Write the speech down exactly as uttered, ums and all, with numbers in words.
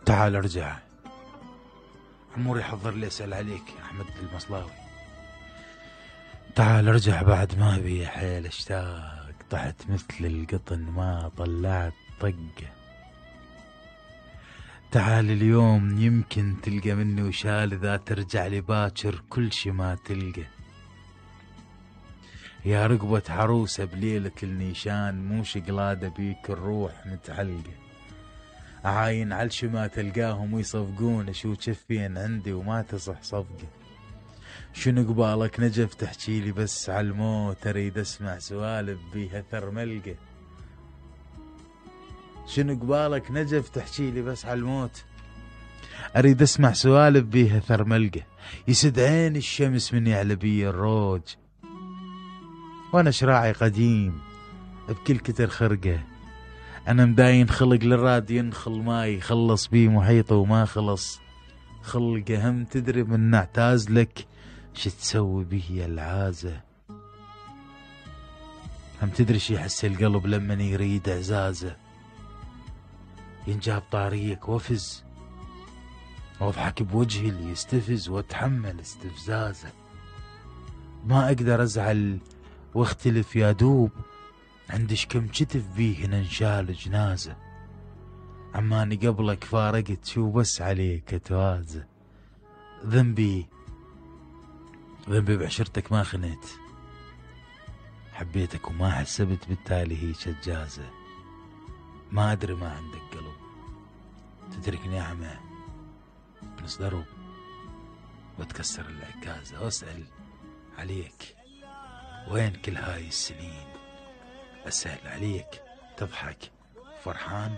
تعال ارجع. عموري حضر لي اسأل عليك يا احمد المصلاوي. تعال ارجع بعد ما بي حيل اشتاق، طحت مثل القطن ما طلعت طقه. تعال اليوم يمكن تلقى مني وشال، اذا ترجع لي باكر كل شي ما تلقى. يا رقبة عروسة بليلة النيشان، مو شقلادة بيك الروح متعلقة. عاين علشي ما تلقاهم ويصفقون، شو جفين عندي وما تصح صفقة. شنو قبالك نجف تحكيلي بس عالموت، اريد اسمع سوالف بيها ثرملقة. شنو قبالك نجف تحكيلي بس عالموت، اريد اسمع سوالف بيها ثرملقة. يسد عين الشمس من يعلى بي الروج، وانا شراعي قديم بكل كتر خرقة. انا مداين خلق للراد ينخل ماي، خلص بي محيطه وما خلص خلقه. هم تدري من نعتاز لك شو تسوي به يا العازة. هم تدري شي يحس القلب لمن يريد اعزازه. ينجاب طاريك وافز واضحك بوجهي اللي يستفز، واتحمل استفزازه. ما اقدر ازعل واختلف يا دوب، عندش كم كتف بيه ننشال جنازه. عماني قبلك فارقت شو بس عليك اتوازه. ذنبي ذنبي بعشرتك ما خنيت، حبيتك وما حسبت بالتالي هي شجازه. ما ادري ما عندك قلب تتركني اعمى بنص درب وتكسر العكازه. واسأل عليك وين كل هاي السنين، اسأل عليك تضحك فرحان